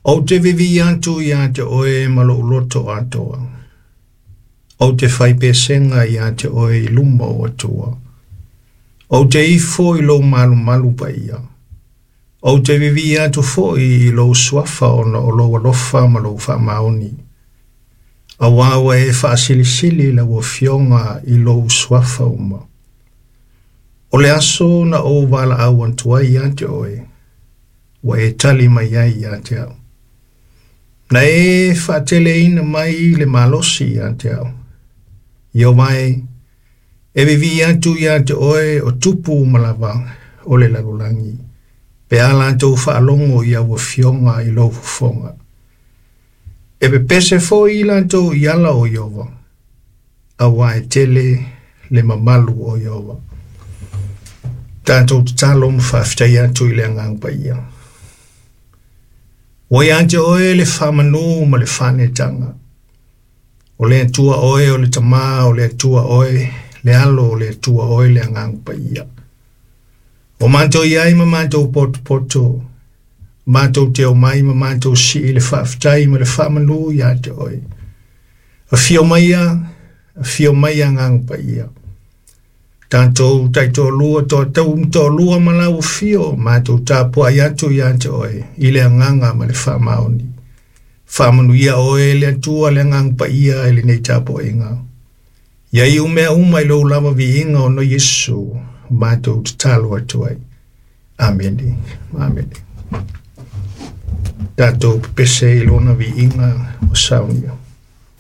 Ou te vivii atu ia te oe ma lou loto atoa. Ou te faipesega ia te oe i luma o Atua. Ou te ifo i lou malumalu paia. Ou te vivii atu foi i lou suafa ona o lou alofa ma lou faamaoni. Auā ua e faasilisili lau Afioga i lou suafa uma. O le aso na ou valaau atu ai ia te oe, ua e tali mai ai ia te au. Na e faateleina mai le malosi ia te au. Ieova e, e vivii atu ia te oe o tupu uma lava o le lalolagi, pe a latou faalogo i au afioga i lou fofoga. E pepese foi i latou i ala o Ieova, auā e tele le mamalu o Ieova. Tatou tatalo ma faafetai atu i le Agaga Paia. Ua ia te oe le faamanu ma le faanetaga. O le Atua oe o le Tamā, o le Atua oe le Alo, o le Atua oe le Agaga Paia. O matou i ai ma matou potopoto, matou te omai ma matou sii le faafetai ma le faamanu ia te oe. Afio maia, afio maia Agaga Paia. Tatou taitoalua, toatau ma toalua ma lau afio, matou tapuai atu ia te oe i le agaga ma le faamaoni. Faamanuia oe le Atua le Agaga Paia i lenei tapuaiga. Ia iu mea uma i lou lava viiga ona o Iesu, matou tatalo atu ai. Amene. Amene. Tatou pepese i lona viiga o saunia.